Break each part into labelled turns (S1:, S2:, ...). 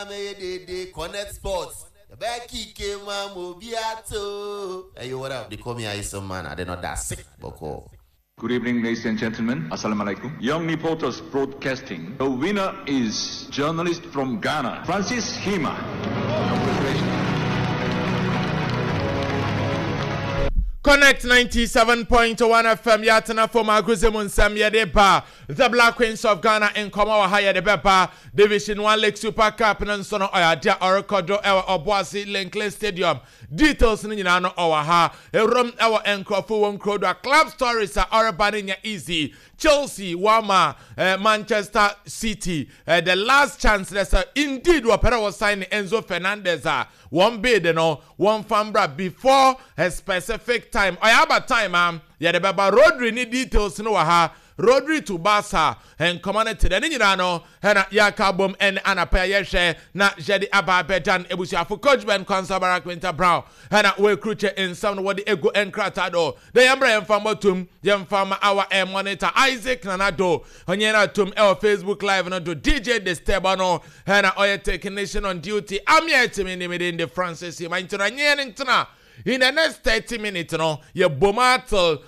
S1: mɛyɛ dede Connect Sports yɛbɛyɛ kike ma ma obi ato. Hey yo, what up? They call me Ayison Man. I did not that sick, bɔkɔɔ.
S2: Good evening, ladies and gentlemen. Assalamu alaikum. Young Reporters Broadcasting. The winner is journalist from Ghana, Francis Hima. Congratulations.
S3: Connect 97.1 FM yɛatena fam agrodze mu nsɛm yɛde ba The Black Queens of Ghana nkɔmmɔ wɔ ha yɛde bɛba Division 1 League Super Cup no nso no ɔyɛ adeɛ a ɔrekɔ do ɛwɔ Ɔboase Linkley Stadium. Details no nyinaa no ɔwɔ ha. Ewuram ɛwɔ nkorɔfo wɔn kuro do a club stories a ɔreba no nyɛ easy. Chelsea wɔama eh, Manchester City eh, the last chance dɛ sɛ indeed wɔpɛ dɛ wɔsign ne Enzo Fernandez a wɔn bid no wɔmfa mbra before a specific time. Ɔyɛ aba time a yɛde bɛba. Rodri ne details no wɔ ha. Rodri to Barca nkɔmɔ no te dɛ ne nyinaa no na yɛaka abom ɛne anapa yi a yɛhwɛ na yɛde aba abɛdan abusuafo. Coach Ben Quansah Barak Winter Brown na wɔakrukye nsɛm no wɔde agu nkrataa do dɛ yɛmbra yɛmfa mmɔtom yɛmfa ma our air monitor Isaac Nana Do ɔnye no atom ɛwɔ Facebook live no do. DJ Disturb ɔno na ɔyɛ technician on duty. Amia Etimi ne me din de Francis Yima nti no ɛnye yɛn ntena in the next 30 minutes no yɛbom ara till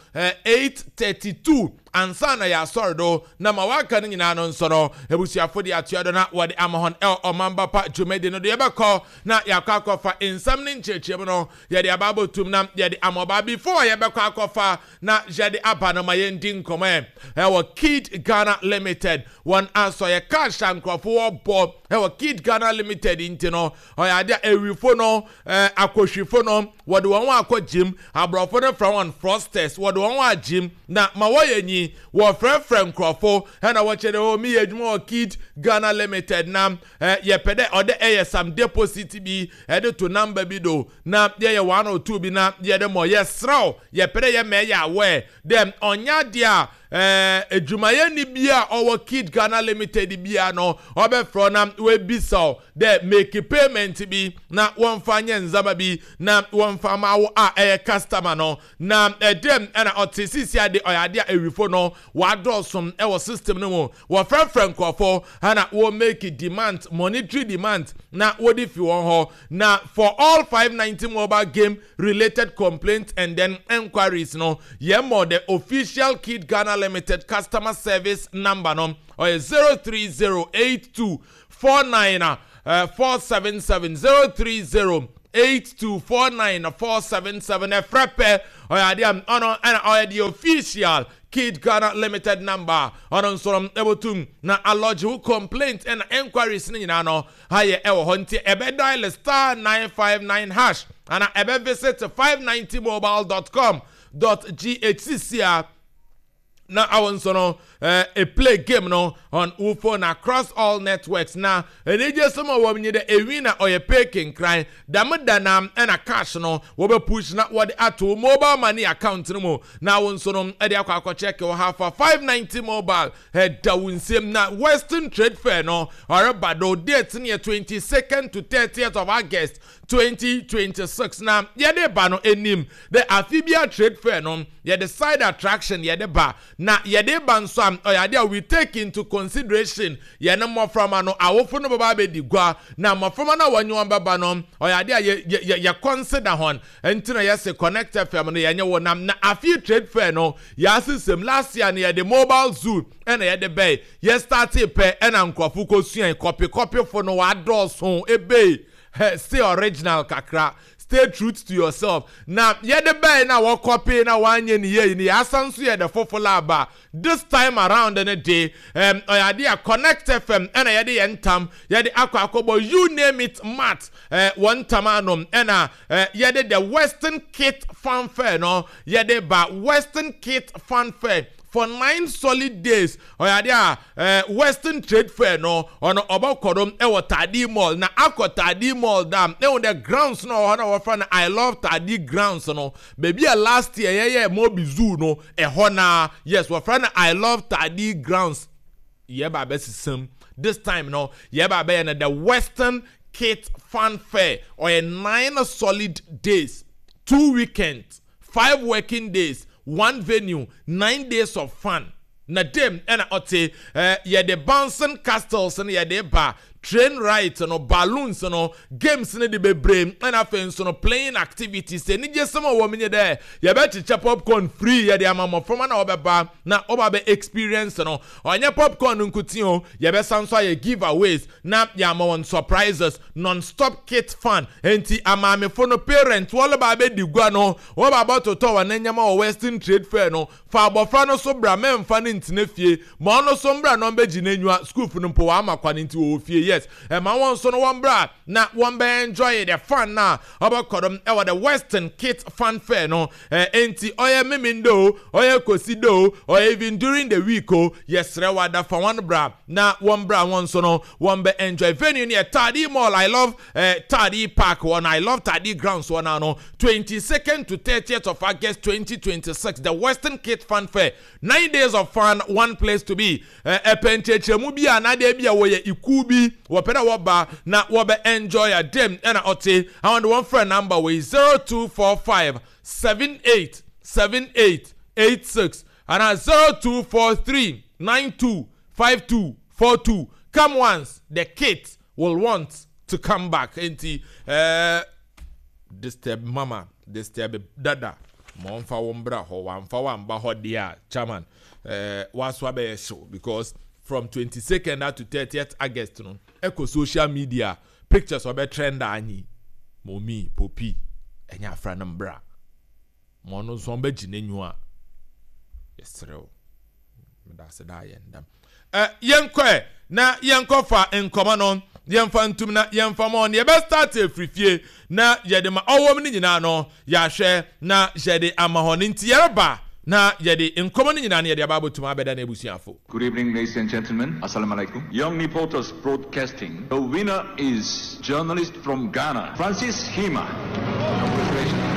S3: 8:32 ansa na yɛasɔre do na ma wɔaka no nyinaa no nso no abusuafo de atoa do na wɔde ama hɔn ɛwɔ Ɔmamba Pa dwumadi no do. Yɛbɛkɔ na yɛakɔ akɔfa nsɛm ne nkyerɛkyerɛmu no yɛde aba abɔtum na yɛde ama ɔbaa. Before yɛbɛkɔ akɔfa na yɛde aba no ma yɛndi nkɔmmɔ ɛ ɛwɔ Kid Ghana Limited wɔn asɔyɛ cash a nkurɔfo wɔbɔ ɛwɔ Kid Ghana Limited nti no ɔyɛ ade a awifo no Eh, akohwifo no, wɔde wɔn ho akɔ gyim. Aborɔfo no frɛ wɔn fraudsters. Wɔde wɔn ho agyim, na ma wɔyɛ nyi. Wɔfrɛfrɛ nkorɔfo na wɔkyerɛ dɛ, oh, meyɛ edwuma wɔ Kid Ghana Limited na eh, yɛpɛ dɛ ɔdɛ ɛyɛ some deposit bi ɛde to number bi do na yɛyɛ one or two bi na yɛde mɔ. Yɛserɛ wo, yɛpɛ dɛ yɛma ɛyɛ aware dɛ ɔnnyɛ adeɛ a Eh, edwumayɛni bi a ɔwɔ Kid Ghana Limited biara no, ɔbɛfrɛ wo na oebisa wo dɛ make payment bi na wɔmfa nyɛ ndzɛmba bi na wɔmfa mma wo a ɛyɛ customer no. Na dɛm na ɔtse sesei de, ɔyɛ ade a ewifo no wɔadɔɔ so wɔ system no mu. Wɔfrɛfrɛ nkorɔfo na wɔ make demands, monetary demands na wɔdze fi hɔn hɔ. Na for all 590 mobile game related complaints and then enquiries no, yɛmɔ the official Kid Ghana Limited customer service number no ɔyɛ 0308249 477, 0308249 477. Ɛfrɛ pɛ, ɔyɛ adeɛ a ɔno ɛna ɔyɛ the official Kid Ghana Limited number. Ɔno nso no ɛbɛtum na alɔgye wo complaint ɛna enquiries no nyinaa no ayɛ ɛwɔ hɔ. Nti ɛbɛ dial *959# ana ɛbɛ visit 590mobile.com.gh sisi a na awɔ nso no e play game no on wo phone across all networks. Na anigye sɛm a wɔn nyi dɛ ewi na ɔyɛ pay kenkran dɛm da na ɛna cash no wɔbɛ push na wɔde ato mobile money account no mu na wo nso no ɛde akɔ akɔkyɛke wɔ ha fa 590 mobile ɛda wo nsam. Na Western Trade Fair no ɔreba do, date no yɛ 22nd to 30th of August 2026. Na yɛde ba no anim dɛ afe bia trade fair no yɛde side attraction yɛde ba, na yɛde ba nso a ɔyɛ ade a we take into consideration yɛne mmɔframma no awofo no bɛba abɛdi gua, na mmɔframma no a wɔnye wɔn bɛba no ɔyɛ ade a yɛ yɛ yɛ consider hɔn. Nti na yɛse Connect FM no yɛnyɛ wɔ nam na afe trade fair no yɛasesɛm. Last year no yɛde mobile zoo ɛna yɛde bɛɛ yɛ start pɛ ɛna nkurɔfo kɔsua kɔpe kɔpefo no wɔadɔɔso ebe. Stay original kakra, stay truth to yourself. Na yɛde bɛɛ na wɔkɔpe na wɔanyɛ ne yie no, yɛasan nso yɛde foforɔ aba this time around no de ɔyɛ ade a Connect FM ɛna yɛde yɛn ntam yɛde akɔ akɔbɔ you name it mat wɔn ntam ano ɛna yɛde the Western Kit Fanfare no yɛde ba. Western Kit Fanfare for 9 solid days, ɔyɛ ade a Western Trade Fair no ɔno ɔbɛkɔ do ɛwɔ Taadi Mall. Na akɔ Taadi Mall dam ɛwɔ the grounds no ɔwɔ hɔ na wɔfrɛ no I Love Taadi grounds no, baabi a last year yɛyɛ Mobi Zoo no ɛhɔ na yes, wɔfrɛ no I Love Taadi grounds. Yɛba abɛsesam this time no, yɛba abɛyɛ no the Western Kit Fanfare. Ɔyɛ 9 solid days, 2 weekends, 5 working days, one venue, 9 days of fun. Na dem ɛna ɔte yɛde bouncing castles no yɛde ba. Train rides no, balloons no, games no de bebree, ɛna afei nso no playing activities. Anigyesɛm a ɔwɔ mu nye dɛ yɛbɛkyekyɛ popcorn free yɛde ama mboframba na wɔbɛba na wɔba abɛ experience no. Ɔnnyɛ popcorn no nkotsee o, yɛbɛsan so ayɛ giveaways na yɛama hɔn surprises, non-stop kit fun. Ntsi amaamefo no, parents, wɔreba abɛdi gua no, wɔba abɔtotɔ hɔn ndzɛmba wɔ Western Trade Fair no, Fa abɔfra no so bra mɛnfa no ntena fie ma ɔno so mbra na ɔmbɛgye n'enyiwa sukuufo no mpo wɔama kwan nti wɔwɔ fie yes ɛma wɔn nso no wɔn bra na wɔn bɛ enjoy the fun na ɔbɛkɔ do ɛwɔ the Western Kids Fun Fair no ɛ enti ɔyɛ Memenda o ɔyɛ Kwesida o ɔyɛ even during the week o yɛsrɛ wo ada fa wɔn bra na wɔn bra wɔn nso no wɔn bɛ enjoy venue no yɛ Tadi Mall I love eh, Tadi Park hɔ no I love Tadi grounds hɔ no ano 22nd to 30th of August 2026 the Western Kids Fun Fair 9 days of fun, one place to be. Ɛpɛ nkyerɛkyerɛmu bi a n'adeɛ bi a wɔyɛ ikuw bi wɔpɛ dɛ wɔba na wɔbɛ enjoy a dɛm ɛna ɔte àwọn de wɔn frɛ number wɔ 0245 78 78 86 ana 0243 92 52 42. Come once, the kids will want to come back. Nti disturb mama, disturb dada ma ɔmfa wɔn bra hɔ. Wamfa wamba hɔ deɛ a, chairman, waso abɛyɛ hyew because from 22nd to 30th August no, ɛkɔ social media pictures ɔbɛ trend anyi momi popi ɛnyɛ afra no mbra ma ɔno nso ɔmbɛgye n'enyiwa. Yɛserew medase da yɛn dam. Yɛnkɔ na yɛnkɔfa nkɔmɔ no, yɛmfa ntum na yɛmfa ma ɔno. Yɛbɛ start efiri fie na yɛde ma ɔwɔ mu no nyinaa no yɛahwɛ na yɛde ama hɔ no. Nti yɛreba na yɛde nkɔmɔ no nyinaa no yɛde aba abɛtum abɛda no abusuafo.
S2: Good evening, ladies and gentlemen. Assalamu alaikum. Young Reporters Broadcasting. The winner is journalist from Ghana, Francis Hima. Congratulations.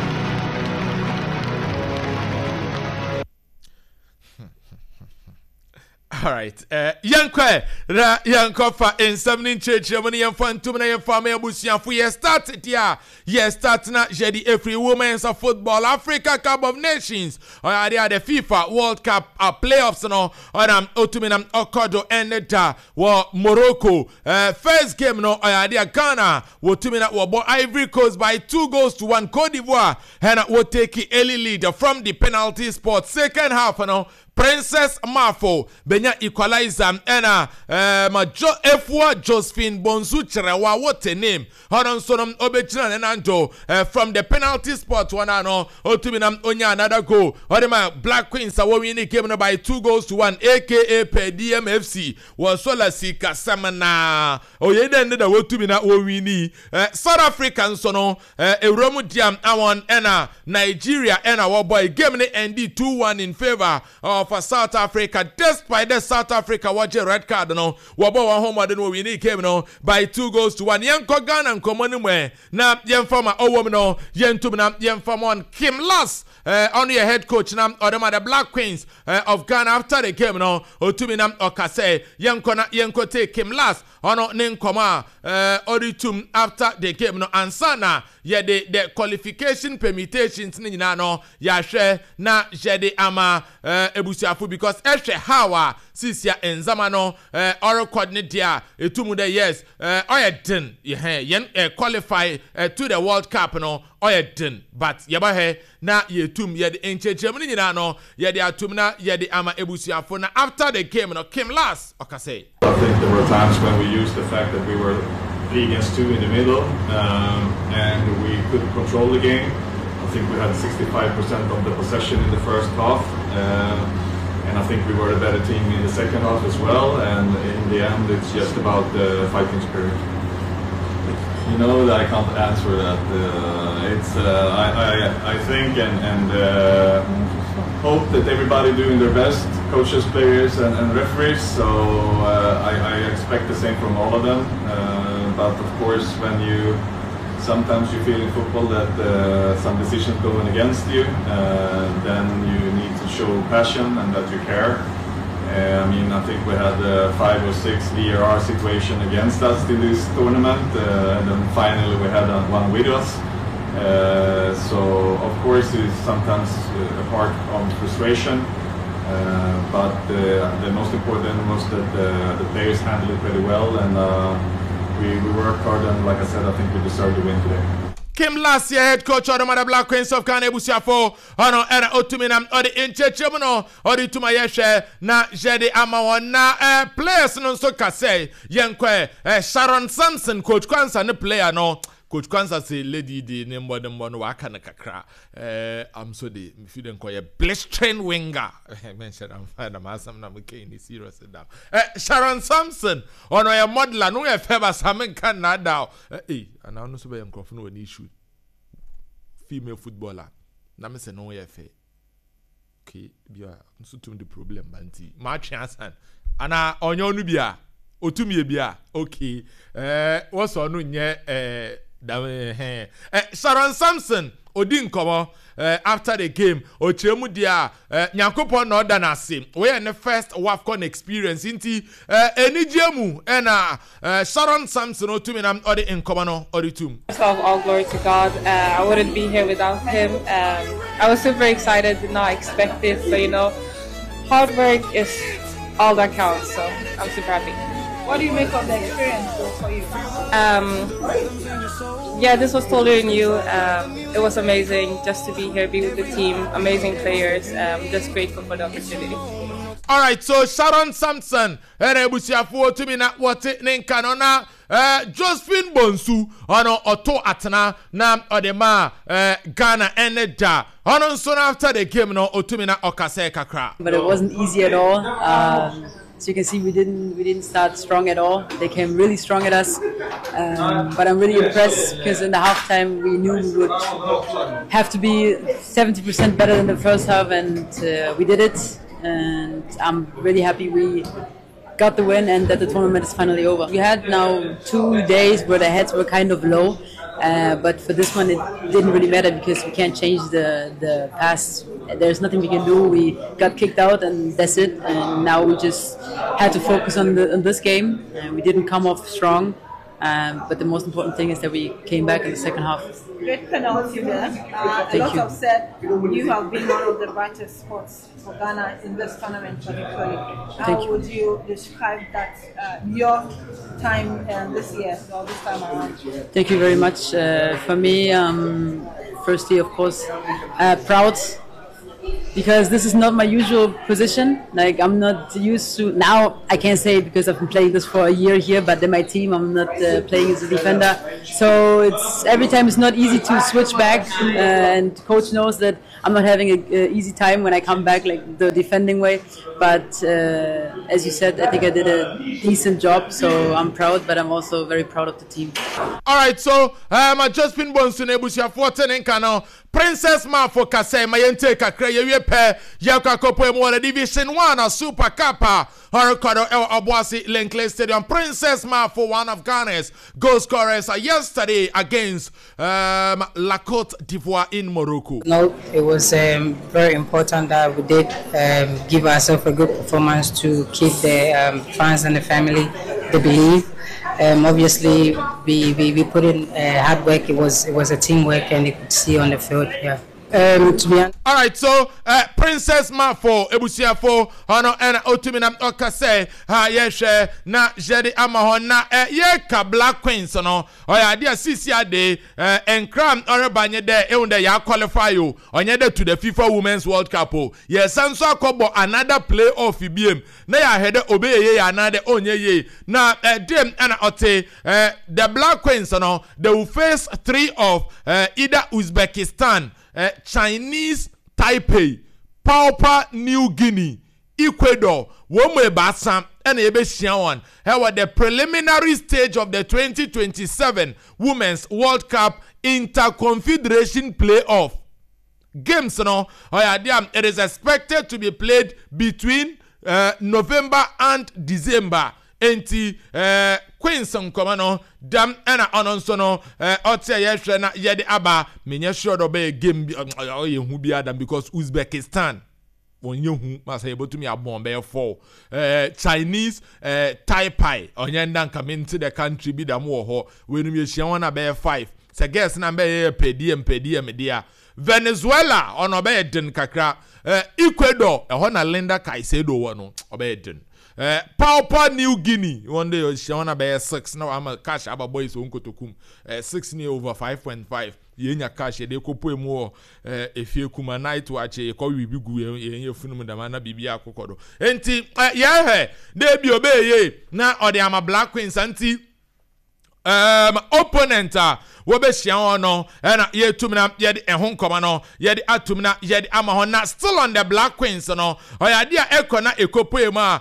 S3: Alright, yɛnkɔ na yɛnkɔfa nsɛm ne nkyerɛkyerɛ mu no, yɛmfa ntom na yɛmfa ma abusuafo. Yɛ start deɛ a yɛ start na yɛde ɛfiri Women's Football Africa Cup of Nations, ɔyɛ adeɛ a the FIFA World Cup playoffs no ɔnam ɔtumi nam ɔkɔ do ɛne da wɔ Morocco. First game no, ɔyɛ adeɛ a Ghana wɔtumi na wɔbɔ Ivory Coast by 2 goals to 1. Cote d'Ivoire ɛna wɔtake early lead from the penalty spot. Second half no, Princess Mafo benya equalizer, ɛna ma jo Efua Josephine Bonsu Kyerɛwa, what a name, ɔno nso no ɔbɛgyina ne nanto from the penalty spot wɔn ano ɔtumi nam onya another goal ɔde ma Black Queens a wɔwin ne game no by 2 goals to 1, aka per DMFC wɔ sola sika sɛm na oyɛ dɛ ne da wɔtumi na wɔwin ni. South Africa nso no ewura mu diam awon ɛna Nigeria ɛna wɔbɔ game ne end 2-1 in favour of South Africa, despite the South Africa wɔgye red card no, wɔbɔ wɔn ho mmɔden wɔ win game no by 2 goals to 1. Yɛnkɔ Ghana nkɔmmɔ no mu ɛ na yɛmfa ma ɔwɔ mu no, yɛntum na yɛmfa ma on Kim Las, ɔno yɛ head coach na ɔde ma the Black Queens of Ghana. After the game no, ɔtumi na ɔka sɛ yɛnkɔ na yɛnkɔ take Kim Las ɔno ne nkɔmɔ a ɔde tum after the game no ansa na yɛde the qualification permutations ne nyinaa no yɛahwɛ na yɛde ama ebusuafo because ɛhwɛ how a sisia nzama no ɔrekɔd ne deɛ a etum dɛ yes, ɔyɛ den yɛn yɛn qualify to the World Cup no ɔyɛ den, but yɛbɛhwɛ na yɛtum yɛde nkyerɛkyerɛmu no nyinaa no yɛde atum na yɛde ama ebusuafo. Na after the game no, Kim Las ɔka sɛ.
S4: I think there were times when we used the fact that we were 3 against 2 in the middle and we could control the game. I think we had 65% of the possession in the first half, and I think we were a better team in the second half as well. And in the end, it's just about the fighting spirit. You know that I can't answer that. It's I think and hope that everybody doing their best, coaches, players, and referees. So I expect the same from all of them. But of course, when you sometimes you feel in football that some decisions going against you, then you need to show passion and that you care. I mean, I think we had five or six VAR situation against us in this tournament, and then finally we had one with us. So of course it's sometimes a part of frustration, but the most important was that the players handled it pretty well, and we, we worked hard, and like I said, I think we deserve the win today.
S3: Kim Lass yɛ head coach ɔde ma the Black Queens of Ghana ebusuafo ɔno ɛna otumi nam ɔde nkyerɛkyerɛ mu no ɔde tuma yɛhwɛ na yɛde ama wɔn na ɛɛ players no nso kasɛ yɛn kɔ ɛ Sharon Sampson, coach Kwansa ne player no. Coach Kwansa se lady de ne mbɔdembɔ no waka no kakra. Am so de mefi de nkɔyɛ blistering winger menhyɛ da mfa na m'asɛm na mekɛn ne serious da. Sharon Sampson ɔno ɔyɛ modeler no yɛ fɛ basa menka nnaadaa eh anaa ɔno nso bɛyɛ nkurɔfo no wɔ ne issue female footballer na mesɛ no yɛ fɛ. Okay, bi a nso tum de problem ba nti matwe asan ana ɔnyɛ ɔno bi a otum yɛ bi a. Okay, wɔsɔ ɔno nyɛ dam ɛhɛn. Sharon Sampson odi nkɔmɔ after the game, ɔkyerɛ mu deɛ a Nyankopɔn na ɔda n'ase. Wɔyɛ ne first WAFCON experience nti anigyeɛ mu ɛna Sharon Sampson otumi na ɔde nkɔmɔ no ɔde tum.
S5: First of all, glory to God. I wouldn't be here without him. I was super excited, did not expect it, but hard work is all that counts, so I'm super happy.
S6: What do you make of the experience though for you?
S5: Yeah, this was totally new. It was amazing just to be here, be with the team, amazing players. Just grateful for the opportunity.
S3: Alright, so Sharon Sampson ɛna ebusuafoɔ tumi na wɔte ne nka no na Josephine Bonsu ɔno ɔto atena na ɔde ma Ghana ɛne da ɔno nso no after the game no otumi na ɔkasɛɛ kakra.
S7: But it wasn't easy at all. So you can see we didn't start strong at all. They came really strong at us. But I'm really impressed because in the halftime we knew we would have to be 70% better than the first half, and we did it. And I'm really happy we got the win and that the tournament is finally over. We had now 2 days where the heads were kind of low. But for this one, it didn't really matter because we can't change the past. There's nothing we can do. We got kicked out, and that's it. And now we just had to focus on this game. And we didn't come off strong. But the most important thing is that we came back in the second half.
S6: Great penalty there. A
S7: Thank
S6: lot
S7: you.
S6: have said you have been one of the brightest spots for Ghana in this tournament, particularly. How
S7: Thank you.
S6: would you describe that, your time this year or this time around?
S7: Thank you very much. For me, firstly, of course, proud because this is not my usual position. Like, I'm not used to. Now I can't say it because I've been playing this for a year here, but in my team I'm not playing as a defender. So it's every time it's not easy to switch back, and coach knows that I'm not having a easy time when I come back like the defending way. But as you said, I think I did a decent job, so I'm proud. But I'm also very proud of the team.
S3: Alright, so Josephine Bonsu na ebusuafoɔ te ne nka no. Princess Mafo kasa ma yɛntie kakra. Yɛwie pɛ yɛkɔ akɔpɔ mu wɔ the Division 1 a Super Cup a ɔrekɔdo ɛwɔ Ɔboase Len Clay Stadium. Princess Mafo, one of Ghana's goal scorers yesterday against La Cote d'Ivoire in Morocco.
S8: No, it was very important that we did give ourselves a good performance to keep the fans and the family the belief. Obviously, we put in hard work. It was a teamwork, and you could see on the field. Yeah. To be honest,
S3: Alright, so Princess Mafo ebusuafo ɔno ɛna otumi na ɔka sɛ ha yɛhwɛ na yɛde ama hɔ na yɛka Black Queens no ɔyɛ adeɛ a sisi ade nkram ɔreba nye dɛ ehu dɛ yɛ qualify o, ɔnyɛ dɛ to the FIFA Women's World Cup o, yɛsan nso akɔbɔ another play off biem na yɛahwɛ dɛ obɛyɛ yie anaa dɛ ɔnyɛ yie na dem ɛna ɔte the Black Queens no, they will face three of either Uzbekistan, Chinese Taipei, Papua New Guinea, Ecuador. Wɔn mu ebaasa ɛna yɛbɛhyia wɔn ɛwɔ the preliminary stage of the 2027 Women's World Cup Interconfederation Playoff games no. Ɔyɛ adeɛ a it is expected to be played between November and December. Nti Queens nkɔmɔ no dɛm ɛna ɔno nso no ɔte a yɛhwɛ na yɛde aba. Menyɛ sure dɛ ɔbɛyɛ game bi ɔyɛ hu bi adam because Uzbekistan wɔnyɛ hu masa yɛbɛtumi abɔn bɛyɛ four. Chinese Taipei ɔnyɛ nda nka mente the country bi dam wɔ hɔ. Weinom yɛhyia wɔn a bɛyɛ five sɛ girls na bɛyɛ yɛ pɛ dm pɛ dm deɛ. Venezuela ɔno ɔbɛyɛ den kakra. Ecuador ɛhɔ na Linda Caicedo wɔ no, ɔbɛyɛ den. Papua New Guinea wɔn de ɔhyia wɔn abɛyɛ 6 na wama cash aba boys wɔn kotokum. 6 ne over 5.5. Yɛnya cash yɛde kɔpue mu wɔ efie kuma night watch, yɛkɔ wi bi gu yɛn yɛ funu mu dama na biribi akokɔ do. Nti yɛhwɛ dɛ bi ɔbɛyɛ na ɔde ama Black Queens. Nti opponent a wɔbɛhyia wɔn no, ɛna yɛtum na yɛde ɛho nkɔmɔ no yɛde atum na yɛde ama hɔ. Na still on the Black Queens no, ɔyɛ adeɛ a ɛkɔ na ɛkɔpue mu a,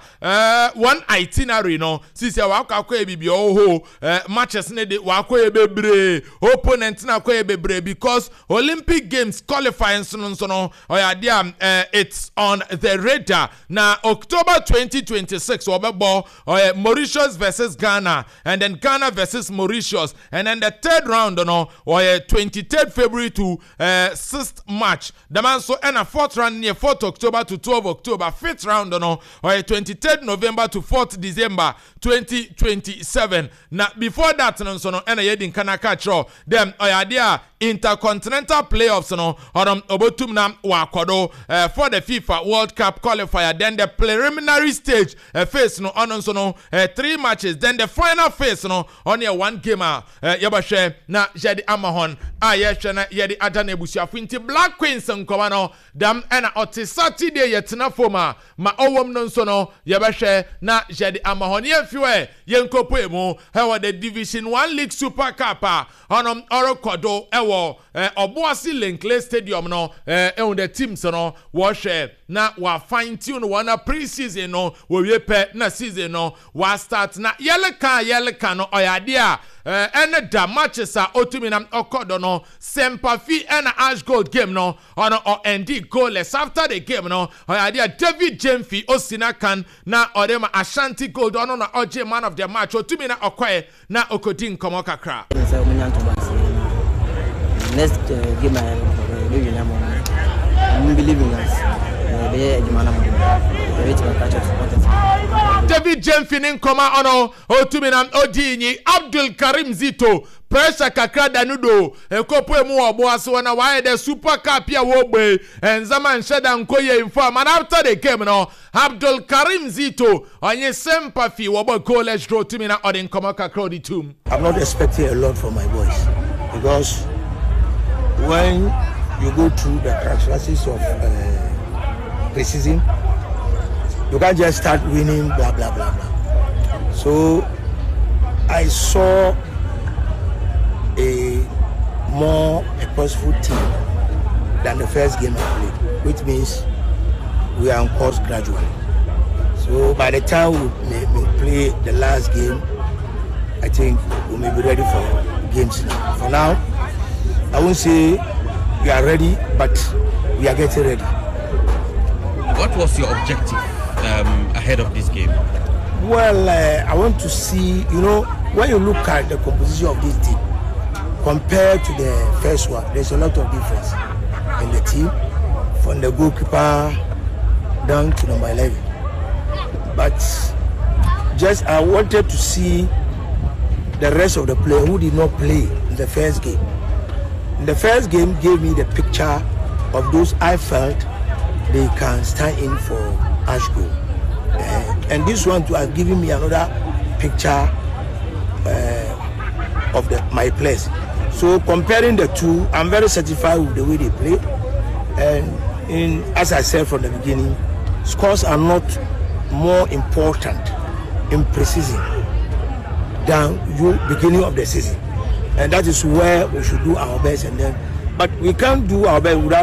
S3: wɔn itinerary no sisi a wakɔ akɔyɛ biribi ɔwɔ hɔ, matches ne de wakɔyɛ bebree, opponent na akɔyɛ bebree, because Olympic Games qualifying nso no ɔyɛ adeɛ a it's on the radar. Na October 2026 wɔbɛbɔ ɔyɛ Mauritius versus Ghana and then Ghana versus Mauritius, and then the third round no ɔyɛ 23rd February to 6th March. Dɛm nso ɛna fourth round no yɛ 4th October to 12 October. Fifth round no ɔyɛ 23rd November to 4th December 2027. Na before that no nso no, ɛna yɛdi nka na aka kyerɛw dɛm ɔyɛ adeɛ a intercontinental playoffs no ɔno ɔbɛtum na wakɔdo for the FIFA World Cup qualifier. Then the preliminary stage phase no, ɔno nso no three matches. Then the final phase no, ɔno yɛ one game a yɛbɛhwɛ na yɛde ama hɔn a yɛhwɛ na yɛde ada no abusuafo. Nti Black Queens nkɔmɔ no dam ɛna ɔte. Saturday yɛtena fam a ma ɔwɔ no nso no, yɛbɛhwɛ na yɛde ama hɔn. Yɛmfi hɔ, yɛnkɔpue mu ɛwɔ the Division One League Super Cup a ɔno ɔrekɔ do ɛwɔ Ɔboase Len Clay Stadium no. Ɛhu the teams no wɔhwɛ na wa fine tune wɔn na pre-season no wɔwie pɛ na season no wa start. Na yɛleka yɛleka no, ɔyɛ adeɛ a ɛne da matches a otumi na ɔkɔ do no, Sempafi ɛna Ash Gold game no, ɔno ɔɛndi goalless. After the game no, ɔyɛ adeɛ a David Jemfi osi na kan na ɔde ma Ashanti Gold, ɔno na ɔgye man of the match. Otumi na ɔkɔɛ na ɔkɔdi nkɔmɔ kakra.
S9: Sɛ ɔmo nya ntoma ase na next game a yɛbɛ win ama ɔmo believe in us, yɛbɛyɛ adwuma no ma yɛbɛtumi aka kyerɛ supporters.
S3: David Jemfi ne nkɔmɔ ɔno otumi na odi nyi. Abdul Karim Zito, pressure kakra da no do ekopo emu wɔ ɔbo ase wɔ na wayɛ dɛ Super Cup a wɔbɔ nzama nhyɛ da nkɔ yie nfa. Man, after the game no, Abdul Karim Zito ɔnye Sempafi wɔbɔ goalless draw, tumi na ɔde nkɔmɔ kakra ɔde tum.
S10: I'm not expecting a lot from my boys because when you go through the characteristics of pre-season, you can't just start winning, blah, blah, blah, blah. So I saw a more purposeful team than the first game I played, which means we are on course gradually. So by the time we may play the last game, I think we may be ready for games now. For now, I won't say we are ready, but we are getting ready.
S11: What was your objective ahead of this game?
S10: Well, I want to see, when you look at the composition of this team compared to the first one, there's a lot of difference in the team, from the goalkeeper down to number 11. But just I wanted to see the rest of the players who did not play in the first game. In the first game gave me the picture of those I felt they can stand in for Ashgold. And this one too has given me another picture of my players. So comparing the two, I'm very satisfied with the way they play. And as I said from the beginning, scores are not more important in pre-season than you beginning of the season. And that is where we should do our best. And then, but we can't do our best without